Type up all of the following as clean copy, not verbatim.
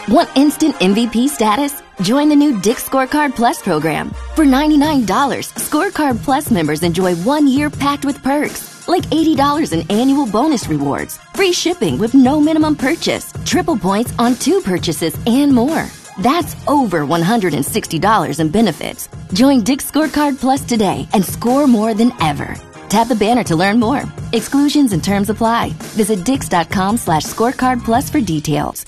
Want instant MVP status? Join the new Dick's Scorecard Plus program. For $99, Scorecard Plus members enjoy one year packed with perks, like $80 in annual bonus rewards, free shipping with no minimum purchase, triple points on two purchases, and more. That's over $160 in benefits. Join Dick's Scorecard Plus today and score more than ever. Tap the banner to learn more. Exclusions and terms apply. Visit dix.com slash scorecard plus for details.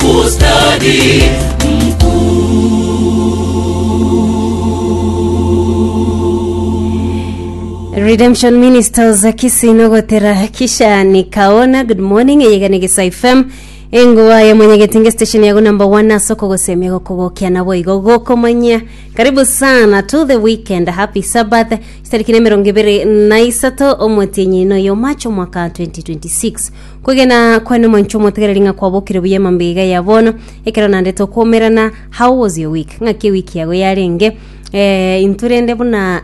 Ustadi Redemption Ministers Kisii nogotera kisha nikaona good morning eyegane gesa FM enguba ya mwenyegetinge station yago number 1 asoko gosemia gokogokia nabo igo gokomanyia karibu sana to the weekend happy sabbath chitariki na emerongo ebere na isato omotienyi noyo macho mwaka 2026 Kwegena kwane mwancho omotegereri ng'a kwabokire buya emambia iga ya bono, ekero naende tokomerana, how was your week? Ng'aki ewiki yago yarenge? Eh, intwe rende buna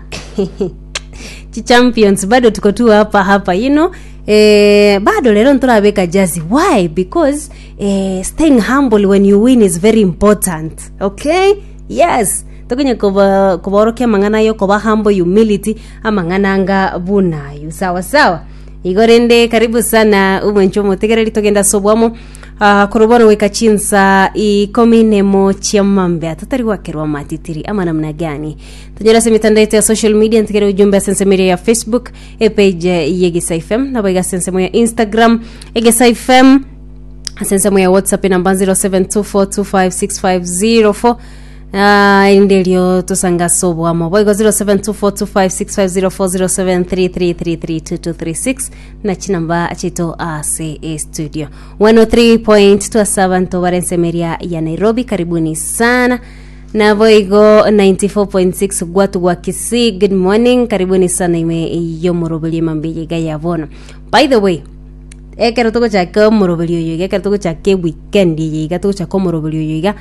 chichampions bado tuko tu hapa hapa you know eh, bado rero ntorabeka jazi why because eh, staying humble when you win is very important okay yes tokonya koba koborokia amang'ana ayo koba humble humility amang'ana anga buna ayo sawa sawa Igo rende karibu sana omwancho omotegereri togende ase obwamo ah, korwa bono goika chinsa ikomi nemo chia mambia totari gwakerwa amatitiri ama namna gani tonyore ase emitandao yetu ya social media ntigere ujumbe ase ensemo eria ya facebook epage ye Egesa fm nabo iga ase ensemo ya instagram egesa fm ase ensemo ya whatsapp enamba 0724256504 Ah, erinde erio tosange ase obwamo boigo 07242565040733332236 na chinamba chiaito ase estudio 103.2 ase abanto bare ensemo eria ya nairobi karibuni sana naboigo 94.6 gwatu gwa kisii good morning karibuni sana ime yomoroberio emambia iga ya bono by the way ekero togochaka omoroberio oyo iga ekero togochaka eweekend eye iga togochaka omoroberio oyo iga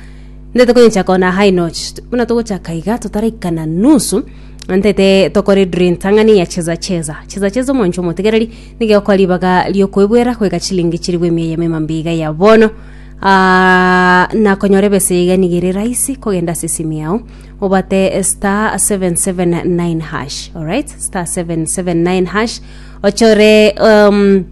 Ntete konyochaka on a high notch buna togochaka iga totaraikana nusu ntete tokore draw entang'ani ya cheza cheza cheza cheza omwancho omotegereri nigo egokoa ribaga riokoebwera goika chilingi chirigwe emia eyemo emambia iga ya bono Ah, na konyora ebesa iga nigo ere rahisi kogenda ase esimu yao obate star 779 hash alright star 779 hash ochore um,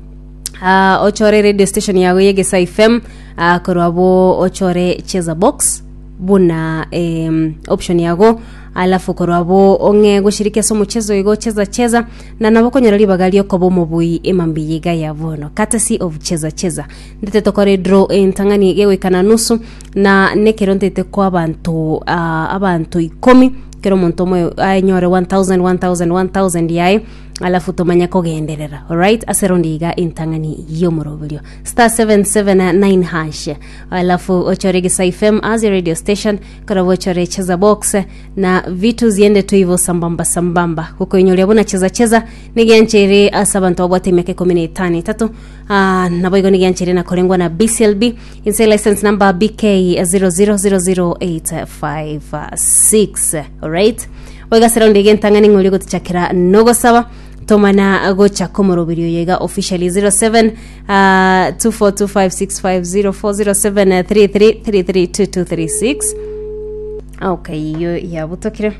Ah, ochore radio station yago ye Gesa FM ah, korwa abwo ochore cheza box buna em, option yago alafu korwa abwo ong'e goshiriki ase omochezo igo cheza cheza na nabo okonyora ribaga riokoba omobui emambia iga ya bono courtesy of cheza cheza ndete tokore draw entang'ani gegoikana nusu na nekero ntete kwa abanto ah, abanto ikomi kero omonto omoyo anyore 1000 1000 1000 yaye Alafu tomanye kogenderera alright ase rondi iga entang'ani y'omoroberio star 779 hash alafu ochore Gisa FM as your radio station korabo ochore cheza box na vitu ziende tu hivyo sambamba sambamba gokoinyoria buna cheza cheza nigianchere ase abanto babwate emiaka ikomi na etano etato ah, nabo igo nigianchere na korengwa na BCLB inse license number BK 0000856 alright Goika ase raundi iga entang'ani ng'oria gotochakera nogosaba tomana gocha komoroberio oyo iga officially 07 uh, 2425650407 33332236 okay iyo yabutokire.